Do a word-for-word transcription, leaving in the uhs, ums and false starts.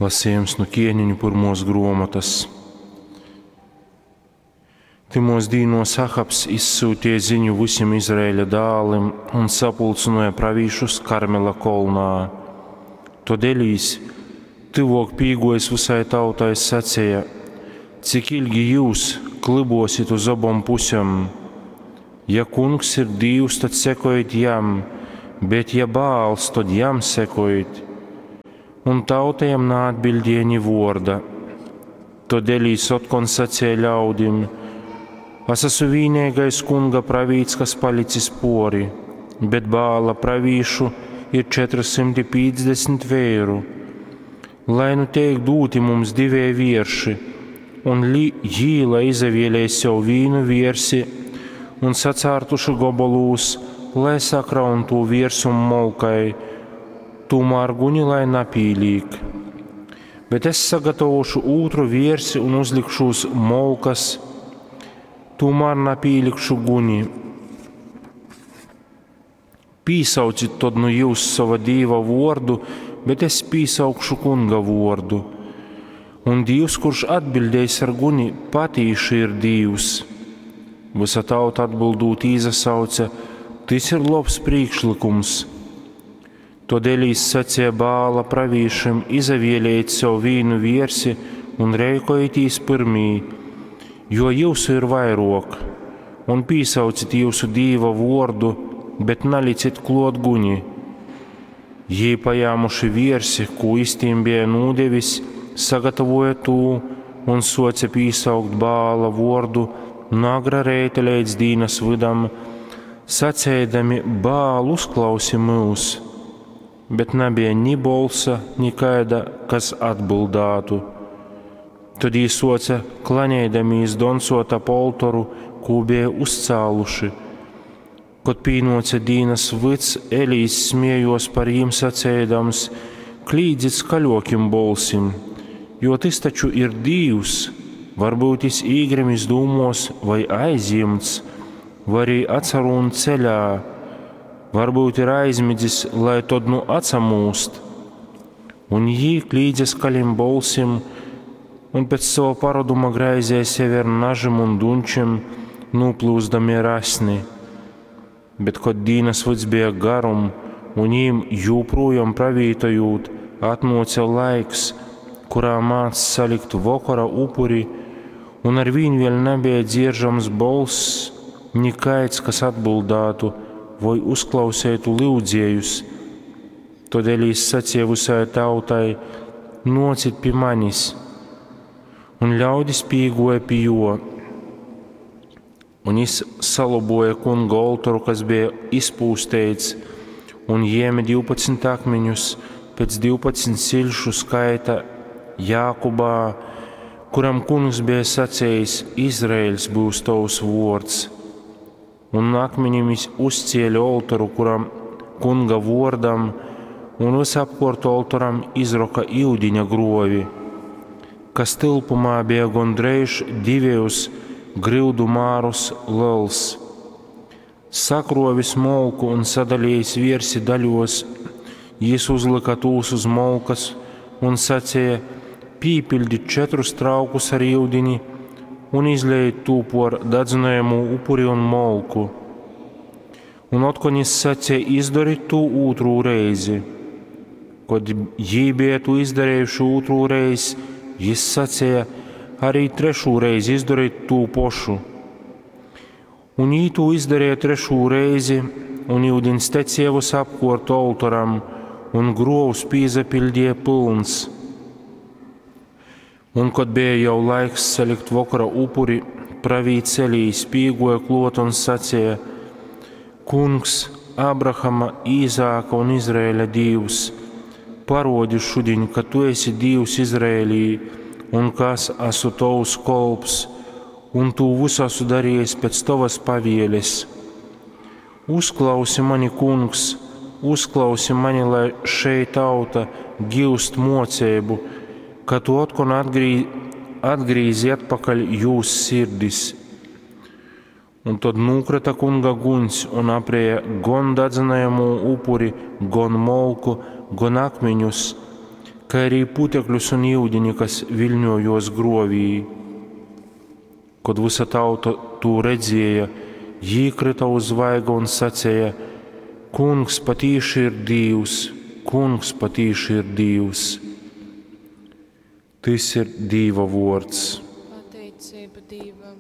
Lasījums nu Ķieniņu pyrmuos gruomotys. Tymuos dīnuos Ahabs izsyutīja ziņu vysim Izraēļa dālim un sapulcynuoja pravīšus Karmela kolnā. Tod Elīs, tyvuok pīguojis vysai tautai, saceja: Cik ilgi jyus klybuosit uz obom pusem? Ja Kungs ir Dīvs, tad sekojit jam, bet ja Baals, tad jam sekojit. Un tauta jam naatbildēja ni vuorda. Tod Elīs otkon saceja ļaudim: Es esmu vīneigais Kunga pravīts, kas palicis puori, bet Baala pravīšu ir četri simti pīcdesmit veiru. Lai nu teik dūti mums divēji vierši, un li, jī lai izavielej sev vīnu viersi un sacārtuši gobolūs, lai sakraun tū viersum molkai, tūmār guni lai napīlīk. Bet es sagatavošu ūtru viersi un uzlikšu uz molkas, tūmār napīlikšu guni. Pīsaucit tod nu jūs sova dīva vuordu, bet es pīsaukšu Kunga vuordu. Un Dīvs, kurš atbiļdēs ar guni, patīši ir Dīvs. Vysa tauta atbildūt īsasauce: Tys ir lobs prīkšlykums. Tod Elīs saceja Baala pravīšim: Izavielejit sev vīnu viersi un reikojitīs pyrmī, jo jyusu ir vairuok, un pīsaucit jyusu dīva vuordu, bet nalicit kluot guni. Jī, pajāmuši viersi, kū jis tīm beja nūdevis, sagatavoja tū un suoce pīsaukt Baala vuordu no agra reita leidz dīnas vydam, saceidami: Baal, uzklausi myus! Bet nabeja ni bolsa, ni kaida, kas atbildātu. Tod jī suoce klaneidamīs doncuot ap oltoru, kū beja uzcāluši. Kod pīnuoce dīnas vyds, Elīs smiejuos par jim saceidams: Klīdzit skaļuokim bolsim, jo tys taču ir Dīvs, varbyut jis īgrimis dūmuos vai aizjimts, vai arī atsarūn ceļā, varbyut ir aizmidzis, lai tod nu atsamūst. Un jī klīdze skaļim bolsim un pēc sova paroduma graizēja sevi ar nažim un dunčim, nūplūsdami ar asni. Bet, kod dīnas vyds beja garum un jīm jūprūjom pravītojūt, atnuoce laiks, kurā mādz salikt vokora upuri, un arvīn vēļ nabeja dzieržams bolss, nikaids, kas atbildātu voi uzklauseitu lyudziejus. Tod Elīs saceja vysai tautai: Nuocit pi manis! Un ļaudis pīguoja pi juo. Un jis saloboja Kunga oltoru, kas beja izpūsteits, un jēme divpadsmit akmeņus pēc divpadsmit ciļšu skaita Jākubā, kuram Kungs beja sacējis: Izraēļs būs tovs vuords. Un akmeņim jis uzcēle oltoru, kuram Kunga vuordam, un visapkuort oltoram izroka iudiņa gruovi, kas tilpumā bija gondreiž divejus gryudu mārus lels. Sakrovis molku un sadalījis viersi daļos, jis uzlyka tūs uz molkas un saceja: Pīpiļdit četrus traukus ar iudini un izlejit tū por dadzynojamū upuri un molku. Un otkon jis saceja: Izdorit tū ūtrū reizi. Kod jī bija tū izdarējuši ūtrū reizi, jis saceja: Arī trešū reizi izdorit tū pošu. Un jī tū izdarēja trešū reizi, un iudiņs tecēja visapkuort oltoram, un gruovs pīzapiļdīja pylns. Un, kod bija jau laiks salikt vokora upuri, pravīts Elīs pīguoja kluot un saceja: Kungs, Abrahama, Īzāka un Izraēļa Dīvs, parodi šudiņ, ka tu esi Dīvs Izraēlī, un ka es esmu tovs kolps, un tū visu esmu darījis pēc tovas pavieles. Uzklausi mani, Kungs, uzklausi mani, lai šei tauta giust moceibu, ka tu otkon atgrī, atgrīzi atpakaļ jūs sirdis. Un tod nūkrita Kunga guņs un aprēja gon dadzynojamū upuri, gon molku, gon akmeņus, kai arī putekļus un yudini, kas viļņōjōs grōvī. Kod vysa tauta tū redzēja, jī kryta uz vaiga un saceja, Kungs patīši ir Dīvs, Kungs patīši ir Dīvs. Tys ir Dīva vōrds. Pateiceiba Dīvam.